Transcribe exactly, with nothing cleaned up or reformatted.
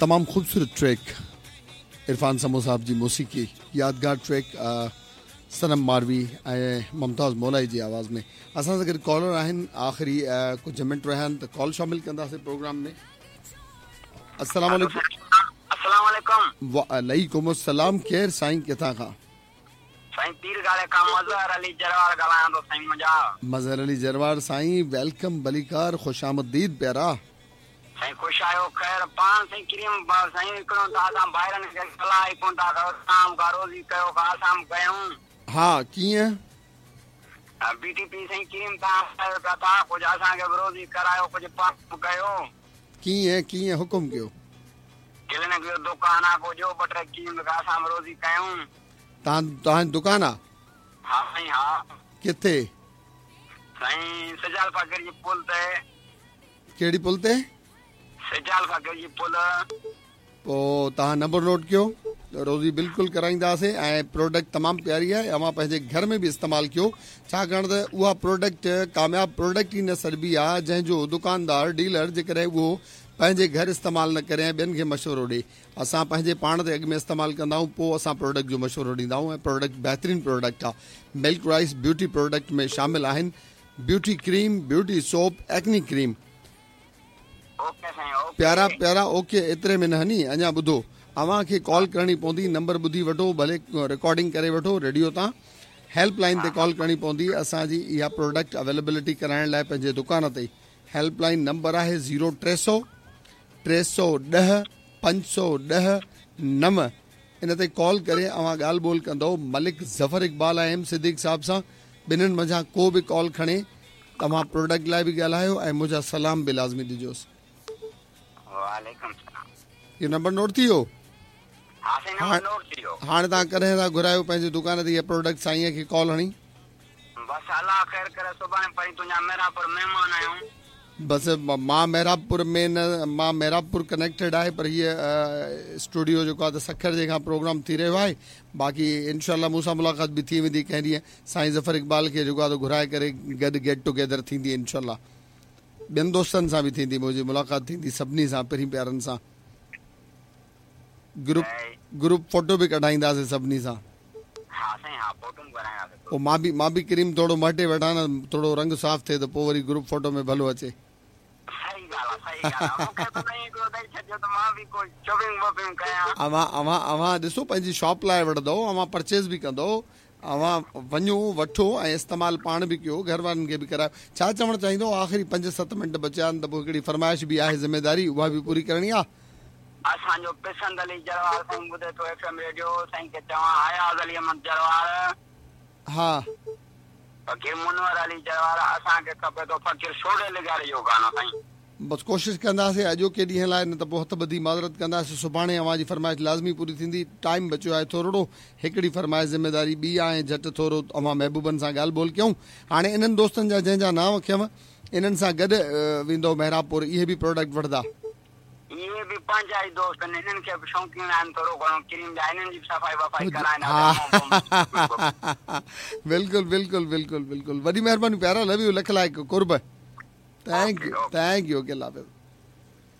तमामु ख़ूबसूरत ट्रैक इरफान समो साहब जी मौसीक़ी यादगार ट्रैक सनम मारवी ऐं मुमताज़ मौलाई जी आवाज़ में। असां सां गॾु कॉलर आहिनि, आख़िरी कुझु मिंट रहिया आहिनि त कॉल शामिल कंदासीं प्रोग्राम में। अस्सलाम वालेकुम। अस्सलाम वालेकुम। वालेकुम अस्सलाम। केरु साईं, किथां खां? साईं पीर गाले खां मज़हर अली जरवार ॻाल्हायां थो साईं। मुंहिंजा मज़हर अली जरवार साईं, welcome, बलीकार, ख़ुशामदीद प्यारा। साईं ख़ुशि आहियो? ख़ैर पाण साईं क्रीम साईं हिकिड़ो त असां भाइरनि खे सलाह ई कोन था कयो, असां खां रोज़ी कयो खां असां बि कयूं। हा कीअं? बी टी पी साईं क्रीम तव्हां कयो पिया था, कुझु असांखे बि रोज़ी करायो, कुझु पाण बि कयो। कीअं कीअं हुकुम कयो? क्लिनिक जो दुकान आहे, पोइ ॾियो ॿ टे क्रीम असां बि रोज़ी कयूं। तव्हां तव्हांजी दुकान आहे? हा साईं हा। किथे? साईं सजाल फ़ाकिर जी पुल ते। कहिड़ी पुल ते? सजाल फ़ाकिर जी पुल। पोइ तव्हां नंबर नोट कयो, रोज़ी बिल्कुलु कराईंदासीं। ऐं प्रोडक्ट तमामु प्यारी आहे, अव्हां पंहिंजे घर में बि इस्तेमालु कयो, छाकाणि त उहा प्रोडक्ट कामयाब प्रोडक्ट ई न सॾिबी आहे जंहिंजो दुकानदार डीलर जेकॾहिं उहो पंहिंजे घर इस्तेमालु न करे ऐं ॿियनि खे मशवरो ॾिए। असां पंहिंजे पाण ते अॻु में इस्तेमालु कंदा आहियूं, पोइ असां प्रोडक्ट जो मशवरो ॾींदा आहियूं। ऐं प्रोडक्ट बहितरीन प्रोडक्ट आहे। मिल्क राइस ब्यूटी प्रोडक्ट में शामिल आहिनि beauty cream, beauty soap, acne cream. प्यारा प्यारा ओके, एतिरे में न हनी। अञा ॿुधो, अव्हांखे कॉल करणी पवंदी, नंबर ॿुधी वठो, भले रिकॉर्डिंग करे वठो रेडियो तां। हेल्पलाइन ते कॉल करणी पवंदी असांजी इहा प्रोडक्ट अवेलेबिलिटी कराइण लाइ पंहिंजे दुकान ते। हेल्पलाइन नंबर आहे ज़ीरो टे सौ टे सौ ॾह पंज सौ ॾह नव। इन ते कॉल करे अव्हां ॻाल्हि ॿोल कंदव मलिक ज़फ़र इक़बाल ऐं एम सिद्दीक़ साहब सां। ॿिन्हिनि मंझां को बि कॉल खणे तव्हां प्रोडक्ट लाइ बि ॻाल्हायो ऐं मुंहिंजा सलाम बि लाज़मी ॾिजोसि। इहो नंबर नोट थी वियो? हाणे तव्हां कॾहिं था घुरायो पंहिंजी दुकान ते इहा प्रोडक्ट? साईंअ खे कॉल हणी। बसि अलाह ख़ैर करे, सुभाणे पई तुंहिंजा मेहराबपुर महिमान आहियूं। बसि मां मेहराबपुर में न, मां मेहराबपुर कनेक्टेड आहे, पर हीअ स्टूडियो जेको आहे त सखर जे खां प्रोग्राम थी रहियो आहे। बाक़ी इनशा मूंसां मुलाक़ात बि थी वेंदी कंहिं ॾींहुं। साईं ज़फ़र इक़बाल खे जेको आहे त घुराए करे गॾु गेट टुगेदर थींदी इनशा। ॿियनि दोस्तनि सां बि थींदी मुंहिंजी मुलाक़ात थींदी, सभिनी सां, पहिरीं प्यारनि सां। ग्रुप ग्रुप फोटो बि कढाईंदासीं सभिनी सां। पोइ मां बि मां बि क्रीम थोरो मटे वठां न, थोरो रंग साफ़ थिए त पोइ वरी ग्रुप फोटो में भलो अचे। अव्हां अव्हां अव्हां ॾिसो पंहिंजी शॉप लाइ वठंदव, अव्हां परचेज़ बि कंदव, अव्हां वञो वठो ऐं इस्तेमालु पाण बि कयो, घर वारनि खे बि करायो। छा चवणु चाहींदो? आख़िरी पंज सत मिंट बचिया आहिनि त पोइ हिकिड़ी फरमाइश बि आहे, ज़िम्मेदारी उहा बि पूरी करणी आहे। असांजो पसंद अली जरवार साईं ॿुधे थो एफ एम रेडियो, साईं खे चवां अयाज़ अली अहमद जरवार, हा फ़क़ीर मुनवर अली जरवार, असांखे खपे थो फ़क़ीर सोड़े लिगारे जो गानो साईं। बसि कोशिशि कंदासीं अॼोके ॾींहं लाइ, न त पोइ हथ ॿधी माज़रत कंदासीं। सुभाणे अव्हां जी फरमाइश लाज़मी पूरी थींदी। टाइम बचियो आहे थोरो, हिकिड़ी फरमाइश ज़िम्मेदारी ॿी आहे। झटि थोरो अव्हां महबूबनि सां ॻाल्हि ॿोल कयूं। हाणे इन्हनि दोस्तनि जा जंहिंजा नांव कयमि, इन्हनि सां गॾु वेंदो मेहराबपुर, इहे बि प्रोडक्ट वठंदा। इहे बि पंहिंजा ई दोस्त आहिनि, इन्हनि खे बि शौक़ीन आहिनि थोरो घणो क्रीम जा, इन्हनि जी बि सफ़ाई वफ़ाई कराइनि। बिल्कुलु बिल्कुलु बिल्कुलु बिल्कुलु, वॾी महिरबानी प्यारा, लव you, लख लाइक़, क़ुर्ब। Thank you, thank you, okay, अल्लाह हाफ़िज़।